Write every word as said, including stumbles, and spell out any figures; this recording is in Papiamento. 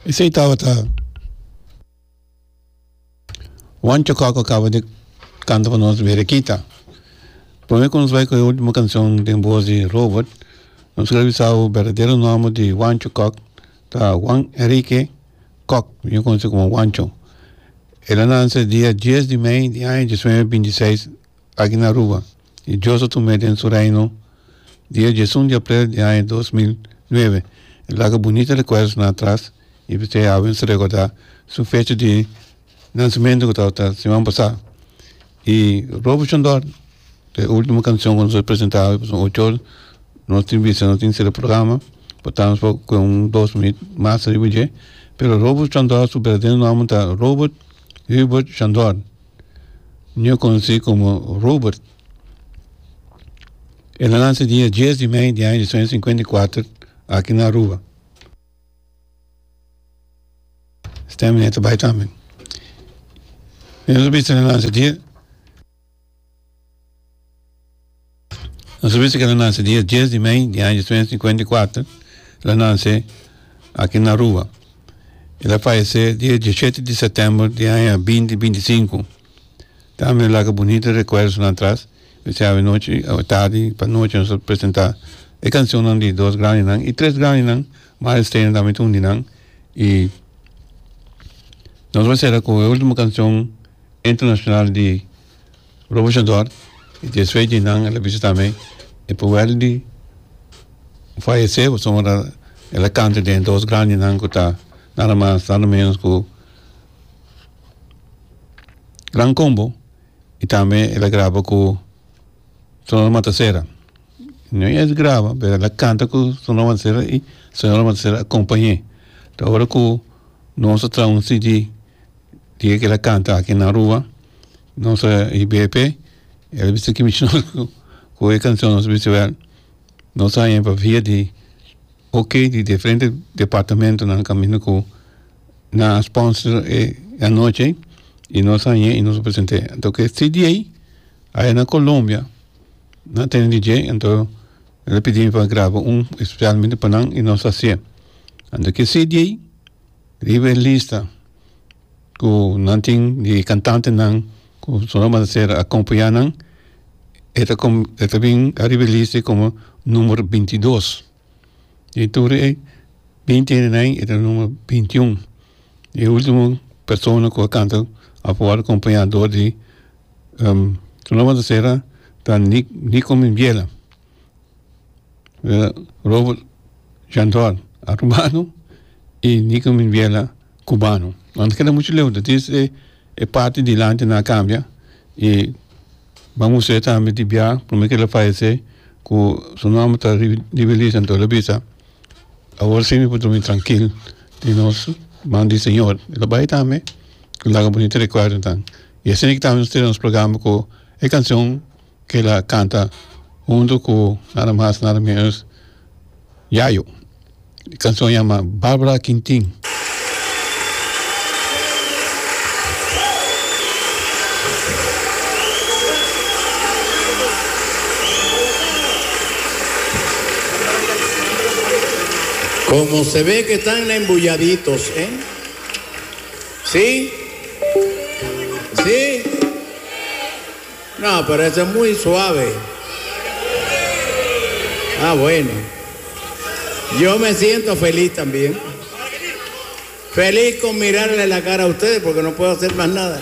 Esey tabata Juancho Kock a caba di canta pa nos Berekita. Prome cu nos bay cu e ultimo cancion den voz di Robert, nos quier bisa bo berdadero nomber di Juancho Kock ta Juan Enrique Kock, mihor conoci como Juancho. El a nace dia dies di mei di aña diesnuebe binti seis aki na Aruba y Dios a tum'e den su reino dia diesun di april di aña dos mil nuebe. El laga bunita recuerdonan atras y p'esei awe nos ta recorda su fecha di nancimento cu tabata siman pasa. Y Robert Chandor ta e ultimo cancion cu nos a presenta awe pasobra ocho or nos tin bisa nos tin cera programa por tanto nos por coge un dos minuut mas ariba dje. Pero Robert Chandor su berdadero nomber ta Robert Hubert Chandor, mihor conoci como Robert. El a nace dia dies di mei di aña diesnuebe sinkuenta i kuater aki na Aruba. Stem meneer ta bai tambe. Nos a bisa el a nace dia. Nos a bisa ku el a nase dia dies di mei di aña diesnuebe sinkuenta i kuater, el a nase aki na Aruba. El a fayesé dia dieshete di sètèmber di aña binti binti sinku. Tambe el a laga bunita rekuerdonan atras. P'esei awe nochi, awe tardi pa nochi nos a presentá e kanshonnan di dos grandinan i tres grandinan, Mario Steiner tambe ta un di nan. I nos bai sera ku e ultimo kanshon internashonal di Robert Chandor y despues di nan el a bisa tambe e por wèl di fayesé pasobra el a kanta den dos grandinan ku ta nada mas nada menos ku Gran Combo y tambe el a graba ku Sonora Matasera. No es graba pero el a kanta ku Sonora Matasera y Sonora Matasera a kompañ'é. Ta ora ku nos a traha un C D di e ke el a kanta aki na Aruba nos a I B P, el a bisa ki nos ku e kanshon. Nos a bisa wèl nos a haña pa via di ok di diferente departamentonan kaminda ku nan a sponsor e anochi i nos a haña i nos a present'é. Anto ku e C D ei aya na Colombia nan a tene di dje, anto el a pidi mi pa graba un espesialmente pa nan i nos a hasié. Anto ku e C D ei riba e lista ku nan tin di kantantenan ku Sonora Matasera a akompañá nan, e ta e ta bin ariba e lista komo number binti dos. I tur e binti hendenan e ta number binti un. E ultimo persona ku a kanta a wòrdu akompañá dor di Sonora Matasera ta Nico Mimbiela. Robert Chandor arubano i Nico Mimbiela cubano. No ta keda muchu leu, ta djis e parti dilanti nan a kambia i ban mustra tambe di bia prome ku el a fayesé ku su nòmber ta riba e lista. Anto el a bisa: "Awor si mi por drumi trankil di nos man di Señor." El a bai tambe ku laga bunita rekuerdonan i asina tambe nos tene nos programa ku e kanshon ku el a kanta hunto ku nada mas nada menos Yayo. E kanshon yama Barbara Quintin. Como se ve que están embulladitos, ¿eh? ¿Sí? ¿Sí? No, pero eso es muy suave. Ah, bueno. Yo me siento feliz también. Feliz con mirarle la cara a ustedes porque no puedo hacer más nada.